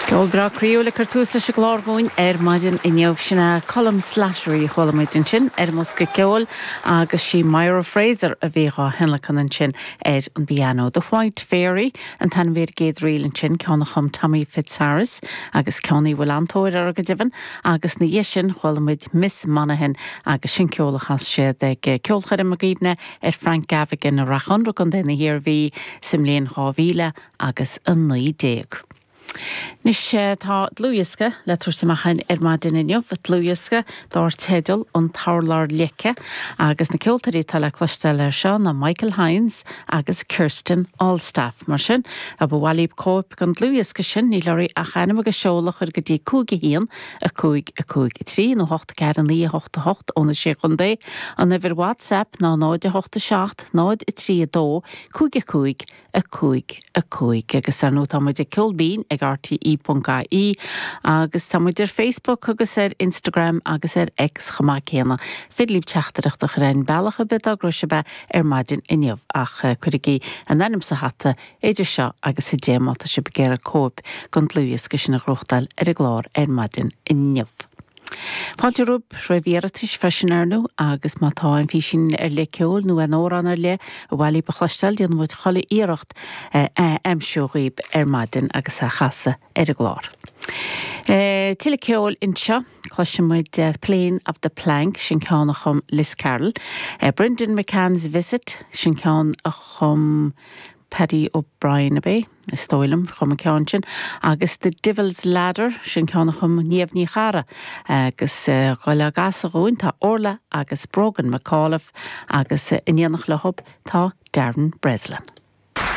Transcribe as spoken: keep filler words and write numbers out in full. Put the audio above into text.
Ceol breá croíúil ag cur tús leis an gclár dúinn ar maidin inniu sin é Colm Slattery chuala muid ansin ar an mbosca ceoil agus sí Myra Fraser a bhí á thionlacan ansin ar an bpianó. The White Fairy an t-ainm ar an gcéad ríl ansin ceann a chum Tommy Fitzharris agus ceann a bhfuil an-tóir air go deimhin agus ina dhiaidh sin chuala muid Miss Monaghan agus sin ceol a chas siad ag ceolchoirm i gcuimhne ar Frank Gavigan i Ráth Chonra Contae na hIarmhí sa mbliain dhá mhíle agus a naoi déag. Anois tá dlúthdhiosca le tabhairt amach ar maidin inniu, dlúthdhiosca dar teideal an tUrlár Leice agus na ceoltóirí atá le cloisteáil air seo ná Michael Hines agus Kirsten Allstaff mar sin a ba mhaith libh cóip den dlúthdhiosca sin níl oraibh ach ainm agus seoladh a chur go dtí cúig a haon a cúig a cúig a trí nó hocht ceathair naoi a hocht a hocht ó na sé chontae an uimhir WhatsApp ná náid a hocht a seacht náid a trí a dó cúig a cúig a cúig a cúig agus ar ndóigh tá muid ag Ceol Binn ag RTE.ie agus tá muid ar Facebook agus ar Instagram agus ar X chomh maith céanna. Féidir libh teachtaireacht a chur ar bealach ar bith dá gcrois a bheith ar maidin inniu ach cuirigí an ainm sa hata idir seo agus a deich má tá sibh ag iarraidh cóip den dlúthdhiosca sin a ghnóthachtáil ar an gclár ar maidin inniu. Fáilte romhaibh roimh iarratais freisin ar ndóigh agus má tá aon phíosa ar leith ceoil nó aon amhrán ar leith ar mhaith libh a chloisteáil déanfaidh muid chuile iarracht a aimsiú dhaoibh ar maidin agus a chasadh ar an gclár. E, Tuilleadh ceoil anseo cloisfidh muid Plane of the Plank sin ceann a chum Liz Carroll. E, Brendan McCann's Visit sin ceann a chum Paddy O'Brien a bé, is dóigh liom chum an ceann sin, agus The Devil's Ladder sin ceann a chum Niamh Ní Charra agus go le gasa dhúin tá Orla agus Brogan McAuliffe agus in éineacht leo tá Darren Breslin.